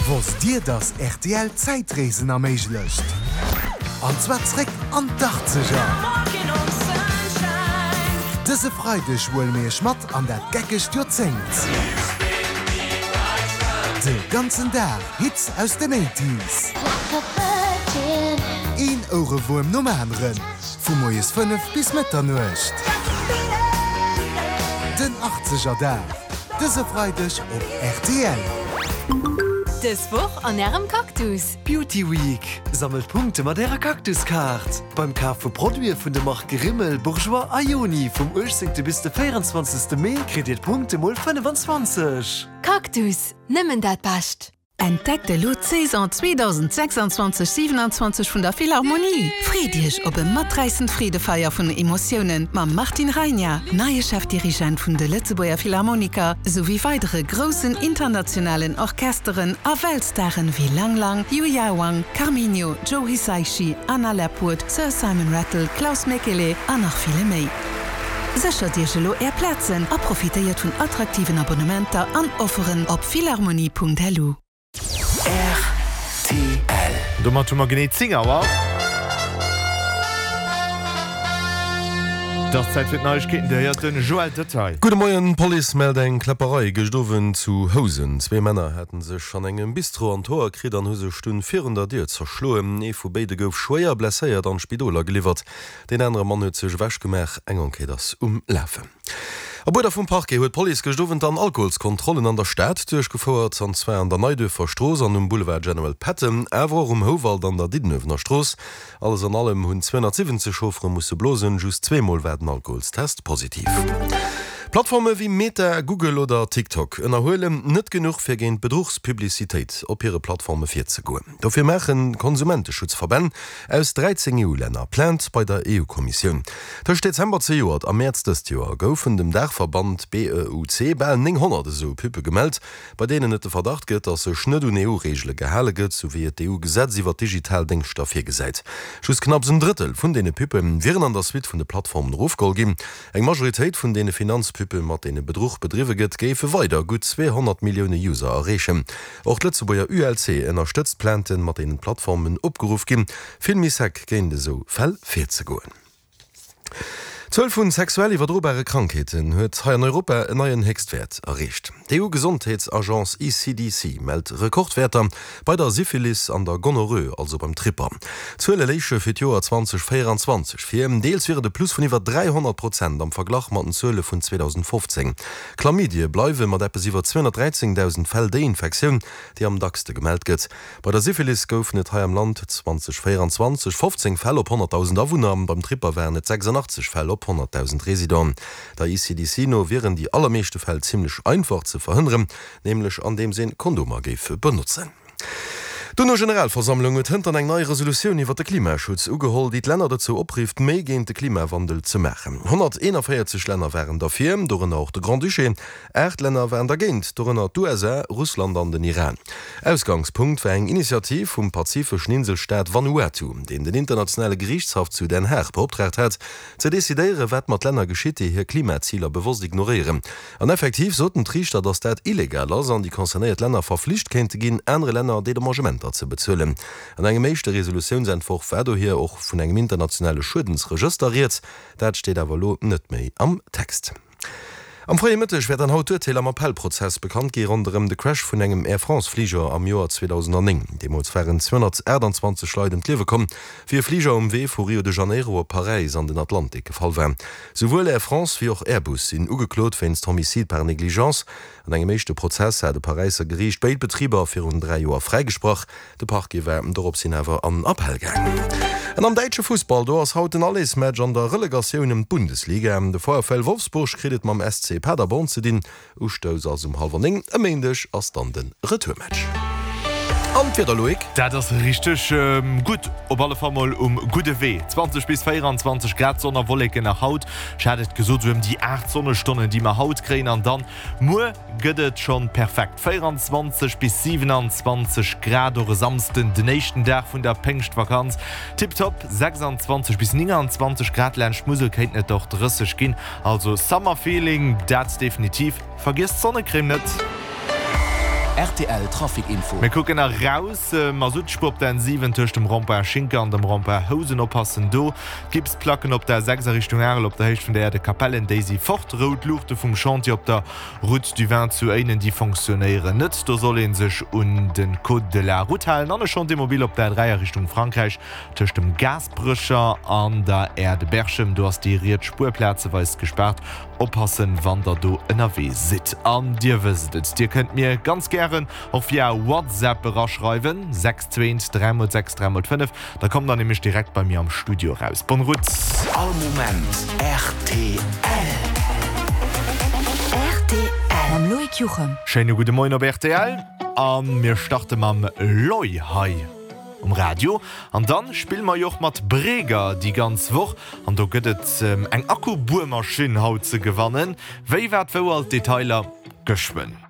Wosst Dir, dass rtl Zäitreesen erméiglecht? An zwar zréck an d'Achtzeger! Dëse Freideg huele mir Iech mat an dat geckegt Joerzéngt. De ganzen Dag Hits aus den Eighties. Een Ouerewuerm nom aneren, vu moies 5 bis Mëtternuecht. Den Achtzeger Dag. Dëse Freideg op rtl. Dës Woch an Ärem Cactus. Beauty Week! Sammelt Punkte mat Ärer Cactus-Kaart! Beim Kaf vu Produite vun de Marke Rimmel, Bourjois a Yoni vum 18. bis de 24. Mee kritt Dir d'Punkte mol 25. Cactus, nëmmen dat Bescht! Entdeckt elo d'Saison 2026 27 vun der Philharmonie! Freet Iech op e maträissend Freedefeier vun Emotiounen mam Martin Rajna, neie Chefdirigent vun de Lëtzebuerger Philharmoniker, souwéi weidere groussen internationalen Orchesteren a Weltstaren wéi Lang Lang, Yuya Wang, Carminho, Joe Hisaishi, Anna Lapwood, Sir Simon Rattle, Klaus Mäkelä an nach ville méi. Séchert Iech elo Är Plazen a profitéiert vun attraktiven Abonnementer an Offeren op philharmonie.lu. Rtl. Domat hu mer genee 10 Auer. Et ass Zäit fir d'Neiegkeeten. Dir héiert den Joël Detaille. Gudde Moien, D'Police mellt eng Kläpperei gëscht Owend zu Housen. Zwee Männer haten sech an engem Bistro an d'Hoer kritt an hu sech dunn virun der Dier zerschloen. Ee vu béide gouf schwéier blesséiert an d'Spidol ageliwwert. Deen anere Mann huet sech ewech gemaach. Eng Enquête ass um Lafen. Op Uerder vum Parquet huet d'Police gëscht Owend dann Alkoholskontrollen an der Stad duerchgefouert, an zwar an der Neiduerfer Strooss an um Boulevard General Patton, awer och um Houwald an der Diddenuewener Strooss. Alles an allem hunn 270 Chauffere musse blosen, just zweemol war den Alkoholstest positiv. Plattforme wéi Meta, Google oder TikTok ënnerhuelen net genuch fir géint Bedruchspublicitéit op hire Plattforme virzegoen. Dofir maachen Konsumenteschutzverbänn aus 13 EU-Länner Plainte bei der EU-Kommissioun. Tëscht Dezember zejoert a Mäerz dëst Joer goufen dem Daachverband BEUC bal 900 esou Pubbe gemellt, bei deenen et de Verdacht gëtt, datt sech net un EU-Reegele gehale gëtt, sou wéi et d'EU-Gesetz iwwer digital Déngschter virgesäit. Just knapps en Drëttel vun deene Pubbe wieren an der Suite vun de Plattformen erofgeholl ginn. Eng Majoritéit vun deene Finanzpubbe, mat deene Bedruch bedriwwe gëtt, géife weider gutt 200 Millioune User erreechen. Och d'Lëtzebuerger ULC ënnerstëtzt d'Plainten, mat deenen d'Plattformen opgeruff ginn, vill méi sec géint esou Fäll virzegoen. D'Zuel vu sexuell iwwerdrobare Krankheeten huet hei an Europa en neien Héchstwäert erreecht. D'EU-Gesondheetsagence ECDC mellt Rekordwäerter bei der Syphilis an der Gonorrhoe, also beim Tripper. D'Zuele léiche fir d'Joer 2024 vir. Deels wier et e Plus vun iwwer 300 Prozent am Verglach mat den Zuele vun 2015. Chlamydie bleiwe mat eppes iwwer 213.000 Fäll déi Infektioun, déi am dackste gemellt gëtt. Bei der Syphilis goufen et hei am Land 2024 15 Fäll op 100.000 Awunner, beim Tripper waren et 86 Fäll op 100.000 Residenten. Der ECDC no wieren déi allermeeschte Fäll zimmlech einfach ze verhënneren, nämlech andeems een Kondomer géif benotzen. D'UNO-Generalversammlung huet hënt eng nei Resolutioun iwwer de Klimaschutz ugeholl, déi d'Länner dozou oprifft, méi géint de Klimawandel ze maachen. 141 Länner waren derfir, dorënner och de Grand-Duché. 8 Länner waren dergéint, dorënner d'USA, Russland an den Iran. Ausgangspunkt war eng Initiativ vum pazifeschen Inselstaat Vanuatu, deen den Internationale Geriichtshaff zu Den Haag beoptraagt hat, ze decidéieren, wat mat Länner geschitt, déi hir Klimaziler bewosst ignoréieren. An effektiv soten d'Riichter, datt dat illegal ass an déi concernéiert Länner verflicht kéinte ginn, anere Länner Dedommagementer ze bezuelen. An engem éischte Resolutiounsentworf war dohier och vun engem internationale Schuedensregëster rieds. Dat steet awer elo net méi am Text. Am fréie Mëtteg wäert dann haut d'Urteel am Appellprozess bekannt gi ronderëm de Crash vun engem Air France-Fliger am Joer 2009. Deemools waren 228 Leit ëm d'Liewe komm, wéi e Fliger um Wee vu Rio de Janeiro op Paräis an den Atlantik gefall war. Souwuel Air France wéi och Airbus sinn ugeklot wéinst Homicide par négligence. An engem éischte Prozess hat e Paräisser Geriicht béid Betriber virun 3 Joer fräigesprach. De Parquet war dorops hin awer an Appell gaangen. An am däitsche Fussball, do ass haut den Allersmatch an der Relegatioun ëm d'Bundesliga. De VfL Wolfsburg kritt et mam SC Paderborn ze dinn. Ustouss ass um hallwer 9, e Méindeg ass dann de Retourmatch. An d'Wieder, Loïc? Dat ass richteg gutt, op alle Fall mol um gudde Wee. 20 bis 24 Grad, Sonn a Wolleken nach haut. Ech hat et gesot, esou ëm déi 8 Sonnestonnen, déi mer haut kréien. An dann muer gëtt et schonn perfekt, 24 bis 27 Grad. Och e Samsden, den éischten Dag vun der Péngschtvakanz, tiptop, 26 bis 29 Grad. Laanscht d'Musel kéinten et och 30 ginn. Also Summer Feeling, dat definitiv. Vergiesst d'Sonnecrème net! Rtl Trafic Info. Mir kucken eraus, Masuttspuer op der N7 tëscht dem Rond-point Schinker an dem Rond-point Housen, oppassen do. D'Gipsplacken op der A6 a Richtung Arel op der Héicht vun der Aire de Capellen, déi si fort. Rout Luuchte vum Chantier op der Route du Vin zu Éinen, déi fonctionnéieren net. Do soll ee sech un de Code de la Route halen. An e Chantier mobile op der A3 a Richtung Frankräich tëscht dem Gaasperecher an der Aire de Berchem, do ass déi riets Spuer plazeweis gespaart. Oppassen wann der do ënnerwee sidd. An dir wësst et, dir kënnt mir ganz gären och via WhatsApp eraschreiwen, 6 2 3 mol 6 3 mol 5, da kommt der nämlech direkt bei mir am Studio eraus. Bonne route! All Moment rtl. Rtl mam Loïc Juchem. Schéine gudde Moien op rtl a mir starte mam Loy hei um Radio an dann spille mer jo och mat Breger déi ganz Woch an do gëtt et eng Akkubuermaschinn haut ze gewannen. Wéi, wat, wou, all d'Detailer geschwënn.